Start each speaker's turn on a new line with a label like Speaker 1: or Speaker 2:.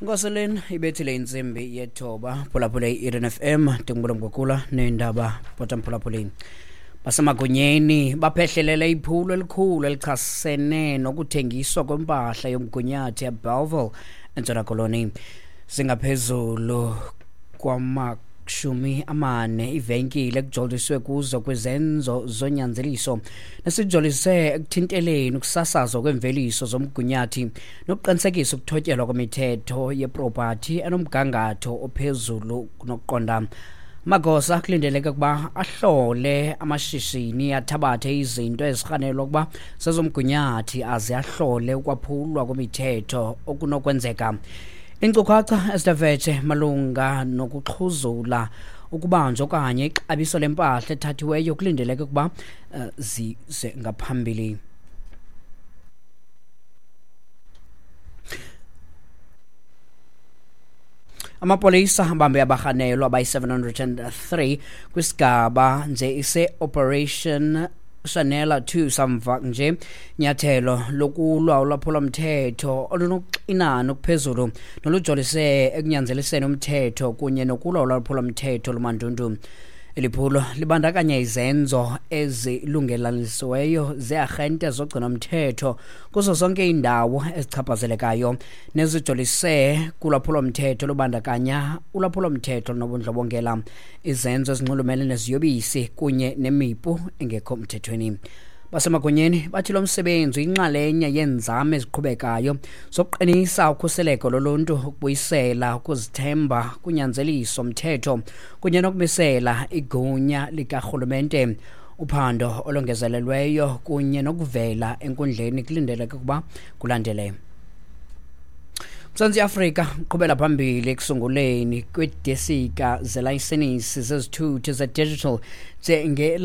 Speaker 1: Nkoseleni ibethile intsimbi yethoba. Phulaphule i-Eden FM, ndingubulo Mgugula neendaba bhota mphulaphuleni. Basemagunyeni baphehlelele iphulo elikhulu elichasene nokuthengiswa kwempahla yomgunyathi eBellville eNtshona Koloni. Zingaphezulu kwama-40 iivenkile ekujoliswe kuzo kwizenzo zonyanzeliso nesijolise ekuthinteleni ukusasazwa kweemveliso zomgunyathi nokuqinisekisa ukuthotyelwa kwemithetho yepropathi enomgangatho ophezulu kunokuqonda. Amagosa kulindeleke ukuba ahlole amashishini, athabathe izinto ezirhanelwa ukuba zezomgunyathi aze ahlole ukwaphulwa kwemithetho okunokwenzeka. Iinkcukacha ezithe malunga nokuxhuzula, ukubanjwa okanye ixabiso lempahla ethathiweyo kulindeleke ukuba zize ngaphambili. Amapolisa abambe abarhanelwa abayi-703 kwisigaba nje ise-Operation Shanela 2 samva nje nyathelo lokulwa ulwaphulomthetho olunokuxinana okuphezulu nolujolise ekunyanzeliseni umthetho kunye nokulwa ulwaphulomthetho lomandundu. Eli phulo libandakanya izenzo ezilungelanisiweyo zearhente zogcinomthetho kuzo zonke iindawo ezichaphazelekayo nezijolise kulwaphulomthetho olubandakanya ulwaphulomthetho nobundlobongela, izenzo ezinxulumene neziyobisi kunye nemipu engekho mthethweni. Basemagunyeni bathi lo msebenzi uyinxalenye yeenzame eziqhubekayo zokuqinisa ukhuseleko loluntu, ukubuyisela ukuzithemba kunyanzeliso mthetho kunye nokumisela igunya likarhulumente. Uphando olongezelelweyo kunye nokuvela enkundleni kulindeleke ukuba kulandele. Mzantsi Afrika uqhubela phambili ekusunguleni kweedesika zelayisenisi zezithuthi ze-digital njenge.